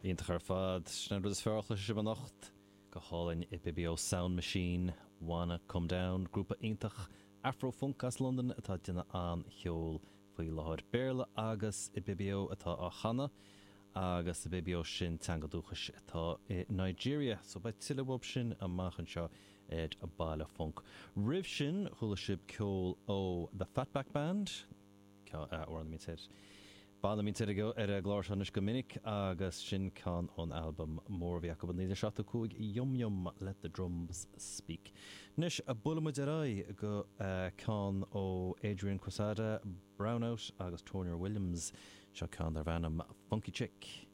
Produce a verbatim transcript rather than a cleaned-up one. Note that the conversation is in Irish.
Iontach ar fad. Sin an rud is fearr a chloisfidh sibh anocht. Go hálainn Ibibio Sound Machine, Wanna Come Down, grúpa iontach Afro-funk as Londain atá ag déanamh an-cheol faoi láthair. Béarla agus Ibibio atá á chanadh agus Ibibio sin teanga dúchais atá i Nigeria. So beidh tuilleadh uaidh sin amach anseo ar Baile Func. Roimh sin chuala sibh ceol ó The Fatback Band, amhrán a mbíonn ar banna a mbíonn ar an gclár seo anois go minic agus sin ceann ón albam mór a bhí acu i naoi déag seachtó cúig, Yum Yum, Let the Drums Speak. Anois buailfidh muid ar aghaidh go ceann ó Adrian Quesada, Brownout agus Tony Williams, seo ceann darb ainm Funky Chick.